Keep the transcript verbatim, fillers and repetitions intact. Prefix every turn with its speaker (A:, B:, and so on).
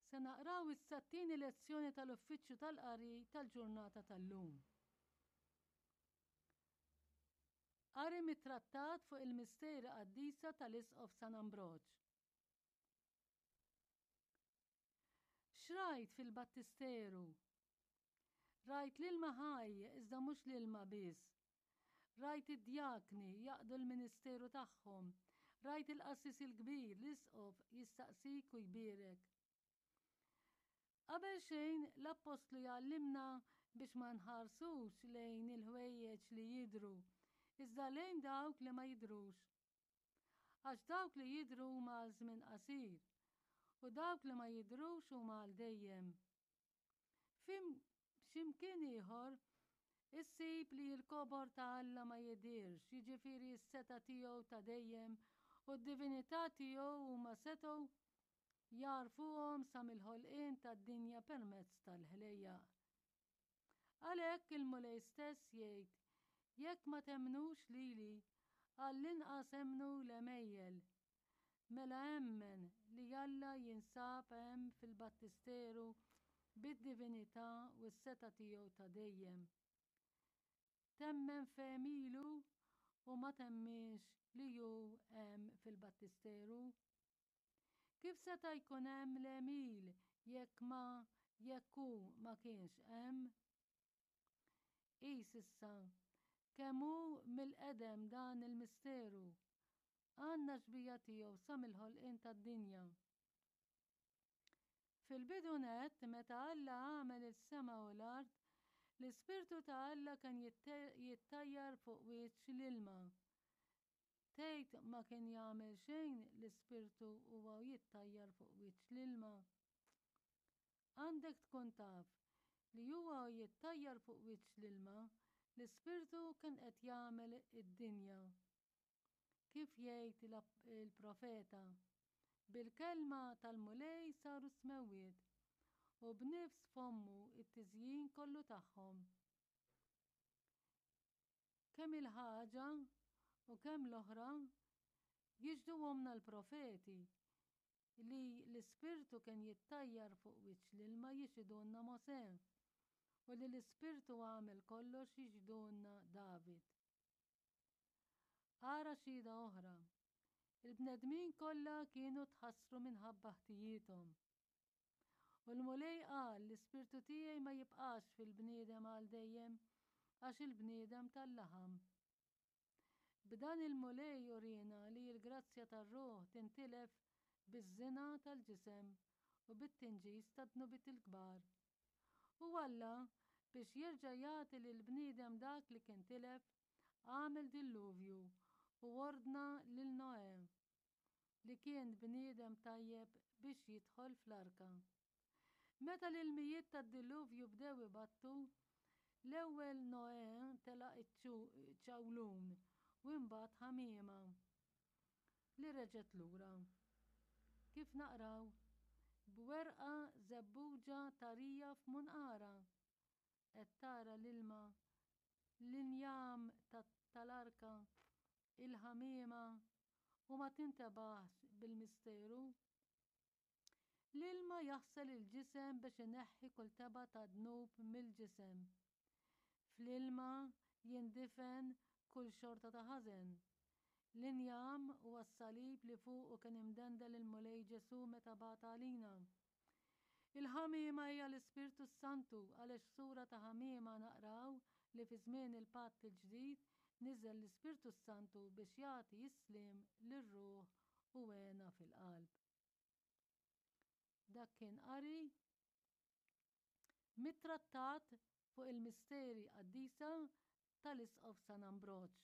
A: Se naqraw issa t-tieni lezzjoni tal-Uffiċċju tal-Qari tal-ġurnata tal-lum. Qari mit-Trattat fuq il-Misteri Qaddisa tal-Isqof San Ambroġ. X'rajt fil-battisteru? Rajt l-ilma ħaj iżda mhux l-ilma biss. Rajt id-djakni jaqdu l-ministeru tagħhom. Rajt il-qassis il-kbir, l-isqof, jistaqsik u jbierek. Qabel xejn, l-appostlu jgħallimna biex ma nħarsux lejn il-ħwejjeġ li jidhru, iżda lejn dawk li ma jidhrux. Għax dawk li jidhru huma għal żmien qasir, u dawk li ma jidhrux huma għal dejjem. F'xi mkien ieħor, issib li l-kobor ta' Alla ma jidhirx, jiġifieri s-setgħa tiegħu ta' dejjem u d-divinità tiegħu huma setgħu jagħrfuhom sa mill-ħolqien tad-dinja permezz tal-ħlejjaq. Għalhekk il-Mulej stess jgħid, Jekk ma temmnux lili, għall-inqas emmnu l-għemejjel. Mela emmen li Alla jinsab hemm fil-battisteru bid-divinità u s-setgħa tiegħu ta' dejjem. Temmen f'għemilu u ma temminx li hu hemm fil-battisteru? Kif seta' jkun hemm l-għemil jekk ma jekk hu ma kienx hemm? Qis issa kemm hu mill-qedem dan il-misteru. Għandna xbieha tiegħu sa mill-ħolqien tad-dinja. Fil-bidu nett, meta Alla għamel is-sema u l-art, l-Ispirtu ta' Alla kien jittajjar fuq wiċċ l-ilma. Tgħid ma kien jagħmel xejn l-Ispirtu huwa u jittajjar fuq wiċċ l-ilma? Għandek tkun taf li huwa u jittajjar fuq wiċċ l-ilma, l-Ispirtu kien qed jagħmel id-dinja. Kif jgħid il-profeta, Bil-kelma tal-Mulej saru s-smewwiet, u b'nifs fommu t-tiżjin kollu tagħhom. Kemm il-ħaġa u kemm l-oħra jixhduhomlna l-profeti li l-Ispirtu kien jittajjar fuq wiċċ l-ilma jixhidulna Mosè u li l-Ispirtu għamel kollox jixhidulna David. Ara xhieda oħra. Il-bnedmin kollha kienu tħassru minħabba ħtijiethom. U l-Mulej qal, L-Ispirtu tiegħi ma jibqax fil-bniedem għal dejjem, għax il-bniedem tal-laħam. B'dan il-Mulej uriena li l-grazzja tar-ruħ tintilef biż-żina tal-ġisem u bit-tinġis tad-dnubiet il-kbar. U Alla, biex jerġa' jagħti lill-bniedem dak li kien tilef, għamel dilluvju u ordna lil Noè, li kien bniedem tajjeb, biex jidħol fl-arka. Meta l-ilmijiet tad-dilluvju bdew ibattu, l-ewwel Noè telaq iċ-ċawlun u imbagħad ħamiema li reġgħet lura. Kif naqraw, b'werqa żebbuġa tarija f'munqarha, qed tara l-ilma, l-injam tal-arka, il-ħamiema u ma tintebaħx bil-misteru? L-ilma jaħsel il-ġisem biex ineħħi kull tebgħa ta' dnub mill-ġisem. Fl-ilma jindifen kull xorta ta' ħażen. L-injam huwa s-salib li fuqu kien imdendel il-Mulej Ġesù meta bata għalina. Il-ħamiema hija l-Ispirtu s-Santu għaliex f'sura ta' ħamiema naqraw li fi żmien il-Patt il-Ġdid niżel l-Ispirtu s-Santu biex jagħti s-sliem lir-ruħ u hena fil-qalb. Dak kien qari mit-trattat fuq il-misteri qaddisa tal-Isqof San Ambroġ.